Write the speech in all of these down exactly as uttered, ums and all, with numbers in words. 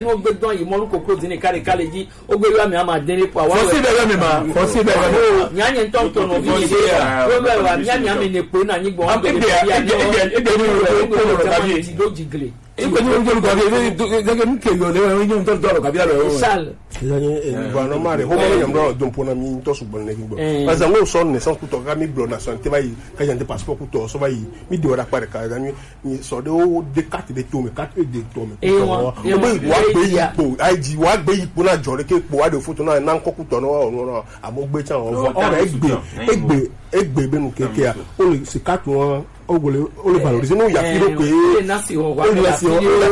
Ni wogbe dɔn yi mɔlu koklo dini kale kale dzi. Wogbe yɔ mi ama deni kpɔ. Fɔsi bɛ yɔ mi ma. Fɔsi bɛ yɔ mi ma. Nya nye ŋutɔ ŋutɔ nɔ vi mi. Fɔsi ya. Wo bɛ wa mia mia mi ne kpo na nyi gbɔ. Am ebe ebe ebe ebe ni wo ko lo ka bi. Ti do jigle. Ebe ni wo ko lo ka bi. Ebe ni ke yo le ni ŋutɔ ŋutɔ lo ka bi alo. Sal. Bon, normal. Ho mo nyam do don pona mi to su bon ne gbɔ. Parce que ngo so ne sans ku to ka mi blo nationalité ba yi. Ka jante passeport ku to so ba yi. Mi de wada pare ka mi. Ni sɔ ɖe wo de carte ɖe to me, carte ɖe to me. Eye wa, eye wa, wa gbe yi kpo, ayi dzi wa gbe yi kpo na dzɔ ɖe ke kpo wa ɖe foto na na ŋkɔ kutɔ na wa ɔnu na amo gbe tsa wa vɔ ɔna egbe egbe egbe be nu keke ya o le si carte wa o gole o le valoriser no ya fi ɖo ke o le na si o ya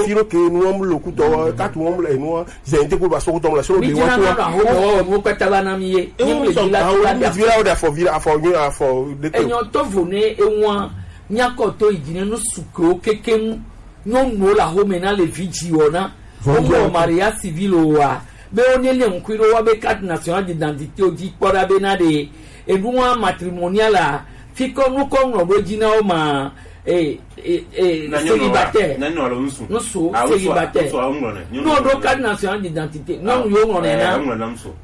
fi ɖo ke nu wa mu lo kutɔ wa carte wa mu le nu wa zɛ n te ko ba sɔ kutɔ mu la sɔ de wa ko wa. Mi jina na ho ho mo kpata ba na mi ye. Ewu sɔ ka wo mi vira o da fɔ vira afɔ nyo afɔ de ke. Enyo to vo ne ewa. Míakɔ to yi dzi ne nu su kewo keke ŋu. Nyɔnuwo le axome na le vi dziwɔ na. Wowɔ mariage civil oa, be wonye le ŋkui ɖo wa be carte nationale d'identité wo dzi kpɔ ɖa be na ɖe enua matrimonial a, fi kɔ nu kɔ ŋlɔ ɖo dzi na wo ma, e, e, e, célibataire. Nusu célibataire. N'o ɖo carte nationale d'identité, nyɔnu yo ŋlɔ nɛ na.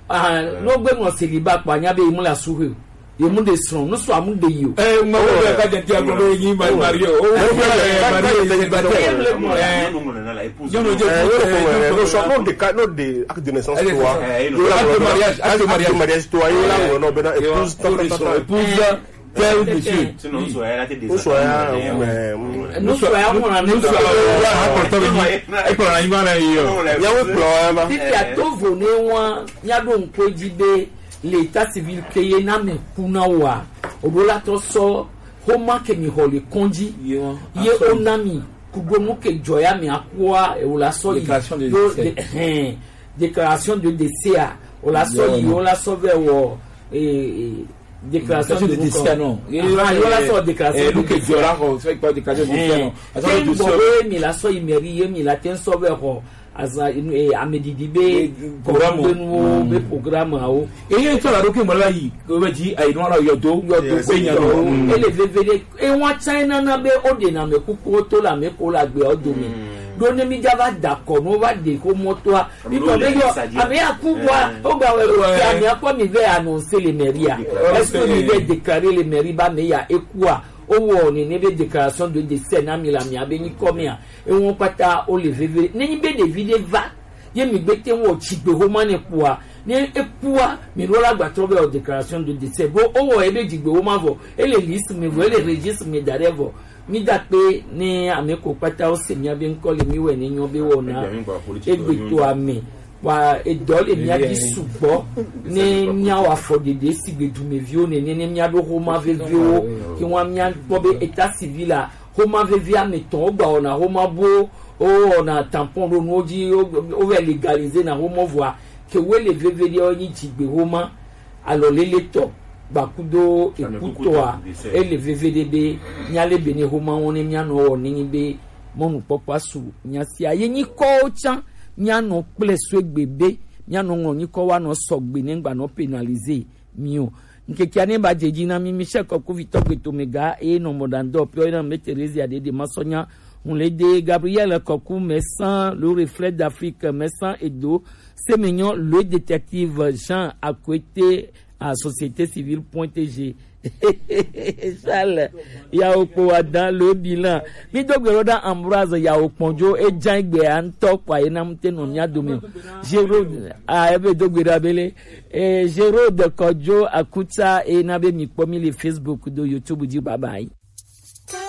Ah, n'o gbe ŋlɔ célibat kpa nya be yi mu la su he o. Ye mu de srɔ̃, nu sɔ amu de yi o. Eh, ma wo ka jɛ ti agbo be yi ma mari o. O wo ka jɛ mari o, yi ba tɛ. Eh, nyɔnu jɛ. Eh, o ko mɛ, no sɔ no de ka no de acte de naissance to wa. Acte de mariage, acte de mariage to wa. Yo la wo no be na épouse ta ta ta. Épouse, père ou monsieur. Sinon, o sɔ ya, mais nu sɔ ya mo na ne sɔ ya ko to bi. E ko na yi ma na yi o. Ya wo kplɔ ya ma. Ti a to vo ne wa, ya do nko ji be. Le état civil ke ye na mɛ ku na wa o ɖo la tɔ sɔ xoma ke mi xɔ le kɔndzi ye o na mi kudo nu ke dzɔ ya mi akua e o la sɔ yi do de hɛn déclaration de décès a o la sɔ yi o la sɔ vɛ wɔ eh, eh, déclaration de décès non ye o la sɔ déclaration de décès la xɔ fɛ kpa déclaration de décès non ke n bɔ we mi la sɔ yi mairie ye mi la te n sɔ vɛ xɔ azã inu e amedidi be programme be programme awo. Eye ŋutɔ la ɖo ke mɔ la yi o be dzi ayi nɔ la yɔdo yɔdo be nya nɔ ele veve ɖe ewa tsa ena na be o ɖe na me kuku o to la me ko la gbe o do me ɖo ne mi dza va da kɔ no va ɖe ko mɔ toa mi tɔ be yɔ ame ya ku wa o gba wɛ o ti ame akɔ mi vɛ annoncer le mairie a est-ce que mi vɛ déclarer le mairie ba me ya eku a o wɔ ne ne be déclaration de décès na mi la mi a be nyi kɔ mi a Ewo kpata wo le veve. Ne nyi be ɖevi ɖe va ye mi gbe te wɔ tsigbe xoma ne kpɔa, ne ekpɔa mi ɖo la gbatrɔ be wɔ déclaration de décès bo o wɔ ebe dzigbe xoma vɔ ele liste me vɔ ele registre me da ɖe vɔ mi da kpe ne ame ko kpata wo se mia be ŋkɔ le mi wɛ ne nyɔ be wɔ na egbe to ame wa edɔ le mia di sugbɔ ne mia wa fɔ ɖeɖe sigbe dumeviwo nene ne mia ɖo xoma vevewo ke wa mia kpɔ be état civil a Xoma vevi ame tɔn wo gba wɔna xoma bo wo wɔna tampon ɖo nuwo dzi wo vɛ legalize na xoma vɔa ke wo le veve ɖe wo nyi dzigbe xoma alɔ lele tɔ gbakudo ekutɔa ele veve ɖe be mia le be ne xoma wɔn ne mia nɔ wɔ ne nyi be mɔnukpɔkpɔ asu mia sia ye nyi kɔwo tsã mia nɔ kple so egbe be mia nɔ ŋlɔ nyi kɔ wa nɔ sɔgbe ne gba nɔ penalize mi o. Ŋkekea ne ba dze dzi na mi, Michel Kɔkuvitɔ Gbetomega eye nɔ mɔɖaŋudɔwɔƒea woyɔna Me Theresia Dede Masɔnya, Hunlede Gabriel Kɔku, Mɛsan, Le Reflet d'Afrique, Mɛsan Edo, Semenyɔ, Le Détective Jean Akwete, a Société Civile point T G. Charles, yawo kpo wa dan le bilan. Mi do gbe ɖo ɖa Ambroise yawo kpɔnjo, e jan gbe a ŋutɔ kpa ye na mu te nɔ mia dome. Géraud, a, ebe do gbe ɖa bele. Eh, Géraud Kojo Akuta, eh, na be mi kpɔ mi le Facebook do YouTube dzi, bye bye.